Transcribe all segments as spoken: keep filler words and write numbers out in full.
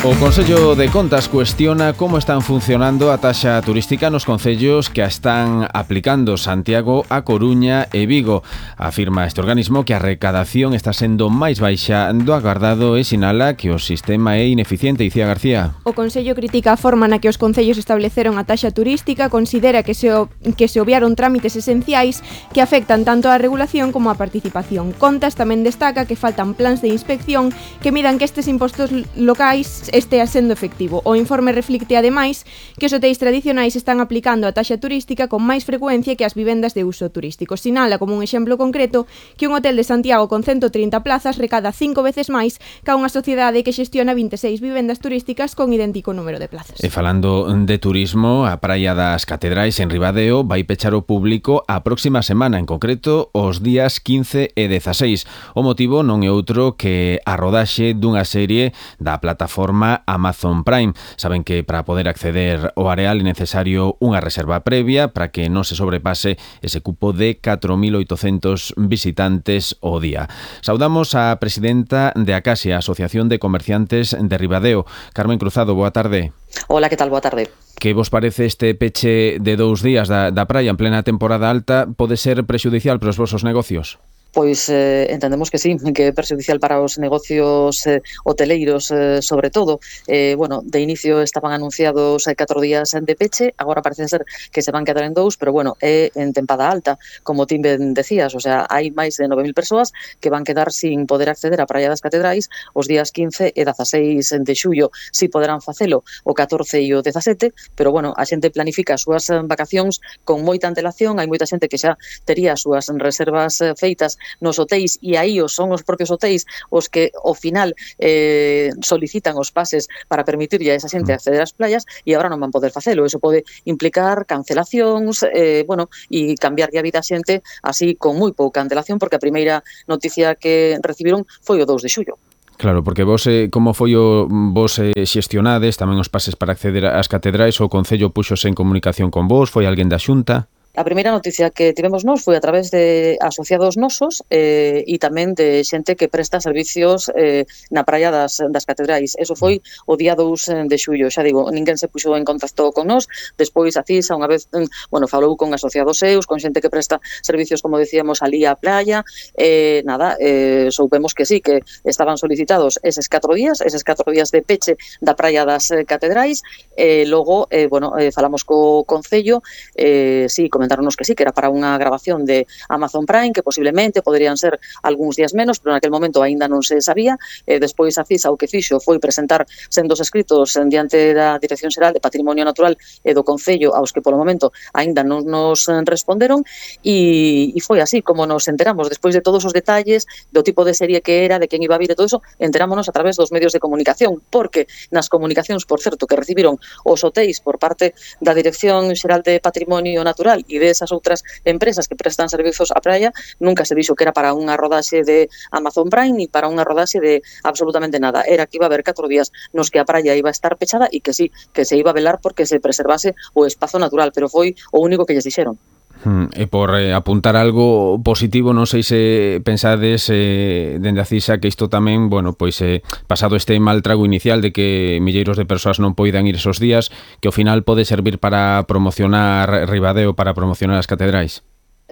O Consello de Contas cuestiona como están funcionando a taxa turística nos concellos que a están aplicando Santiago, A Coruña e Vigo. Afirma este organismo que a recadación está sendo máis baixa do agardado e sinala que o sistema é ineficiente. Icía García. O Consello critica a forma na que os concellos estableceron a taxa turística, considera que se, o, que se obviaron trámites esenciais que afectan tanto a regulación como a participación. Contas tamén destaca que faltan plans de inspección que midan que estes impostos locais estea sendo efectivo. O informe reflicte ademais que os hotéis tradicionais están aplicando a taxa turística con máis frecuencia que as vivendas de uso turístico. Sinala como un exemplo concreto que un hotel de Santiago con ciento trinta plazas recada cinco veces máis ca unha sociedade que xestiona vinte e seis vivendas turísticas con idéntico número de plazas. E falando de turismo, a Praia das Catedrais en Ribadeo vai pechar o público a próxima semana, en concreto os días quince e dezaseis. O motivo non é outro que a rodaxe dunha serie da plataforma Amazon Prime. Saben que para poder acceder ao areal é necesario unha reserva previa para que non se sobrepase ese cupo de catro mil oitocentos visitantes ao día. Saudamos a presidenta de Acasia, Asociación de Comerciantes de Ribadeo. Carmen Cruzado, boa tarde. Hola, que tal? Boa tarde. Que vos parece este peche de dous días da, da praia en plena temporada alta? Pode ser prexudicial para os vosos negocios? Pois eh, entendemos que sí, que é perxudicial para os negocios eh, hoteleiros, eh, sobre todo. Eh, bueno, de inicio estaban anunciados eh, catro días de peche, agora parece ser que se van quedar en dous, pero bueno, é en tempada alta, como ti ben decías, o sea, hai máis de nove mil persoas que van quedar sin poder acceder á Praia das Catedrais os días quince e dezaseis de xullo. Si poderán facelo o catorce e o dezasete, pero bueno, a xente planifica as súas vacacións con moita antelación, hai moita xente que xa tería as súas reservas feitas nos hotéis e aí os son os propios hotéis os que ao final eh, solicitan os pases para permitirlle a esa xente acceder ás playas e agora non van poder facelo. Eso pode implicar cancelacións, eh, bueno, e cambiarlle a vida a xente así con moi pouca antelación, porque a primeira noticia que recibiron foi o dous de xullo. Claro, porque vos, eh, como foi o vos eh, xestionades tamén os pases para acceder ás catedrais, o Concello puxose en comunicación con vos, foi alguén da Xunta? A primeira noticia que tivemos nós foi a través de asociados nosos eh, e tamén de xente que presta servicios eh, na praia das, das catedrais. Eso foi o día dous de xullo. Xa digo, ninguén se puxo en contacto con nós. Despois a CISA unha vez, bueno, falou con asociados seus, con xente que presta servicios, como decíamos, alí á playa. Eh, nada, eh, soupemos que sí, que estaban solicitados eses catro días, eses catro días de peche da praia das catedrais. Eh, logo, eh, bueno, eh, falamos co Concello, eh, sí, comentaronos que sí, que era para unha grabación de Amazon Prime, que posiblemente poderían ser algúns días menos, pero naquel momento aínda non se sabía. Eh, despois a CISA o que fixo foi presentar sendos escritos en diante da Dirección Xeral de Patrimonio Natural e do Concello, aos que polo momento aínda non nos responderon, e, e foi así como nos enteramos. Despois de todos os detalles, do tipo de serie que era, de quen iba a vir e todo eso, enterámonos a través dos medios de comunicación, porque nas comunicacións, por certo, que recibiron os hotéis por parte da Dirección Xeral de Patrimonio Natural e desas outras empresas que prestan servizos á praia, nunca se dixo que era para unha rodaxe de Amazon Prime ni para unha rodaxe de absolutamente nada. Era que iba a haber catro días nos que a praia iba a estar pechada e que sí, que se iba a velar porque se preservase o espazo natural, pero foi o único que lles dixeron. Hmm, e por eh, apuntar algo positivo, non sei se pensades eh, dende a CISA que isto tamén, bueno, pois eh, pasado este mal trago inicial de que milleiros de persoas non poidan ir esos días, que ao final pode servir para promocionar Ribadeo, para promocionar as catedrais.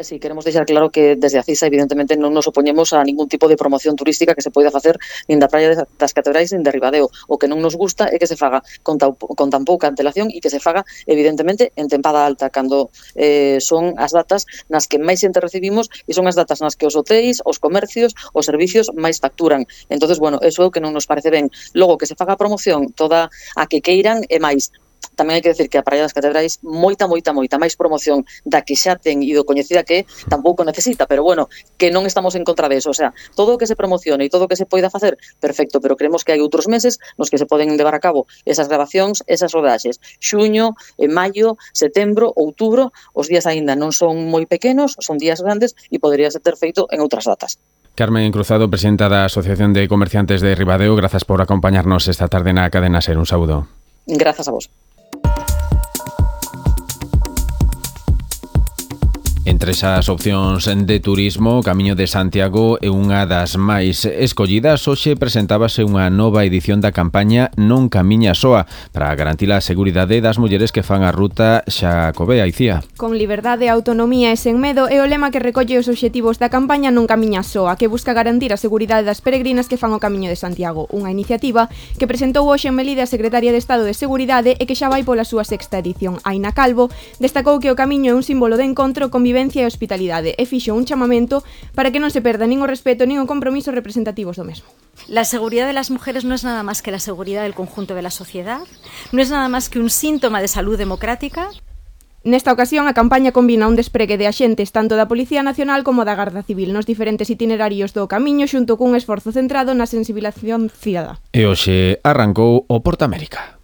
Sí, queremos deixar claro que desde a CISA evidentemente non nos opoñemos a ningún tipo de promoción turística que se poida facer nin da praia das catedrais nin de Ribadeo. O que non nos gusta é que se faga con, ta, con tan pouca antelación e que se faga evidentemente en tempada alta, cando eh, son as datas nas que máis xente recibimos e son as datas nas que os hotéis, os comercios, os servicios máis facturan. Entonces, bueno, eso é o que non nos parece ben. Logo, que se faga a promoción toda a que queiran e máis. Tamén hai que decir que a Praia das Catedrais moita, moita, moita máis promoción da que xa ten e do coñecida que tampouco necesita, pero bueno, que non estamos en contra deso, o sea, todo o que se promocione e todo o que se poida facer, perfecto, pero creemos que hai outros meses nos que se poden levar a cabo esas grabacións, esas rodaxes. Xuño, en maio, setembro, outubro, os días aínda non son moi pequenos, son días grandes e podería ser ter feito en outras datas. Carmen Cruzado, presidenta da Asociación de Comerciantes de Ribadeo, grazas por acompañarnos esta tarde na Cadena Ser. Un saúdo. Grazas a vos. Entre Entre esas opcións de turismo, o Camiño de Santiago é unha das máis escollidas. Hoxe presentábase unha nova edición da campaña Non camiña soa para garantir a seguridade das mulleres que fan a ruta Xacobea, Icía. Con liberdade, autonomía e sen medo é o lema que recolle os obxectivos da campaña Non camiña soa, que busca garantir a seguridade das peregrinas que fan o Camiño de Santiago, unha iniciativa que presentou hoxe en Melide a secretaria de Estado de Seguridade e que xa vai pola súa sexta edición. Aina Calvo destacou que o camiño é un símbolo de encontro, convivencia e hospitalidade e fixo un chamamento para que non se perda nin o respeto nin o compromiso representativos do mesmo. La seguridad de las mujeres no es nada más que la seguridad del conjunto de la sociedad, no es nada más que un síntoma de salud democrática. Nesta ocasión, a campaña combina un despregue de axentes tanto da Policía Nacional como da Garda Civil nos diferentes itinerarios do camiño xunto cun esforzo centrado na sensibilización cidadá. E hoxe arrancou o Portamérica.